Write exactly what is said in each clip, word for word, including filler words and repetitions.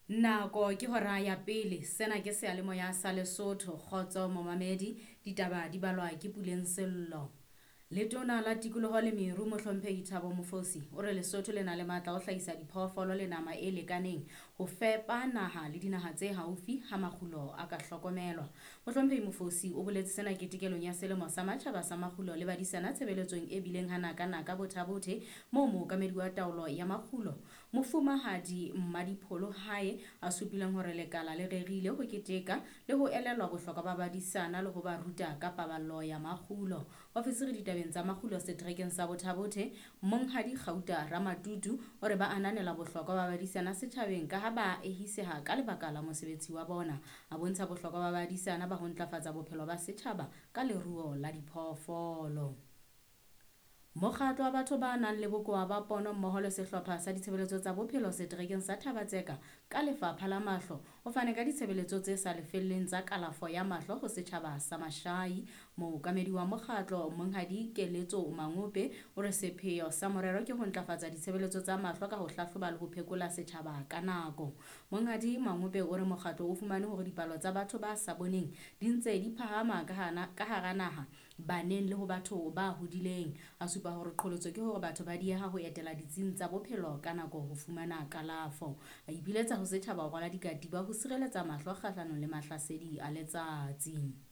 Nako ke hora ya pele, sena ke seyalemoya sa Lesotho. Kgotso momamedi, ditaba di balwa ke Puleng Sello. Letona la Tikoloho le Meru Mohlomphehi Thabo Mofosi o re Lesotho le na le matla a ho hlahisa diphoofolo le nama e lekaneng ho fepa naha le dinaha tse haufi ha makgulo a ka hlokomelwa. Mohlomphehi Mofosi o boletse sena ketekelong ya selemo sa matjhaba sa makgulo le badisana tshebeletsong e bileng ha naka-naka Botha-Bothe moo mookamedi wa taolo ya makgulo Mofumahadi Mmadipholo Hae a supileng hore lekala le rerile ho keteka le ho elellwa bohlokwa ba badisana le ho ba ruta ka paballo ya makgulo. Ofisiri ditabeng tsa makgulo seterekeng sa Botha-Bothe Monghadi Kgauta Ramatutu o re ba ananela bohlokwa ba badisana setjhabeng ka ha ba ehiseha ka lebaka la mosebetsi wa bona. A bontsha bohlokwa ba badisana ba ho ntlafatsa bophelo ba setjhaba ka leruo la diphoofolo. Mokgatlo wa batho ba nang le bokowa ba pono mmoho le sehlopha sa ditshebeletso tsa bophelo seterekeng sa Thaba-Tseka ka Lefapha la Mahlo o fane ka ditshebeletso tse sa lefelleng tsa kalafo ya mahlo ho setjhaba sa Mashai. Mookamedi wa mokgatlo Monghadi Keletso Mangope o re sepheo sa morero ke ho ntlafatsa ditshebeletso tsa mahlo ka ho hlahloba le ho phekola setjhaba ka nako. Monghadi Mangope o re mokgatlo o fumane hore dipalo tsa batho ba sa boneng di ntse di phahama ka hana ka hara naha baneng le ho batho ba hodileng. A supa hore qholotso ke hore batho ba dieha ho etela ditsing tsa bophelo ka nako ho fumana kalafo. A ipiletsa ho setjhaba ho rwala dikatiba ho sireletsa mahlo kgahlanong le mahlasedi a letsatsi.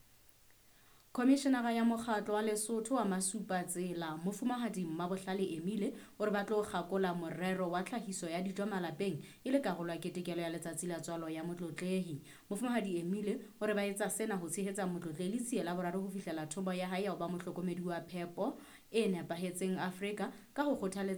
Khomishenara ya mokgatlo wa Lesotho wa Masupatsela Mofumahadi Mmabohlale Emile o re ba tlo kgakola morero wa tlhahiso ya dijo malapeng e le karolo ya ketekelo ya letsatsi la tswalo ya Motlotlehi. Mofumahadi Emile o re ba etsa sena ho tshehetsa Motlotlehi Letsie la boraro ho fihlela thomo ya hae ya ho ba mohlokomedi wa phepo e nepahetseng Afrika ka ho kgothaletsa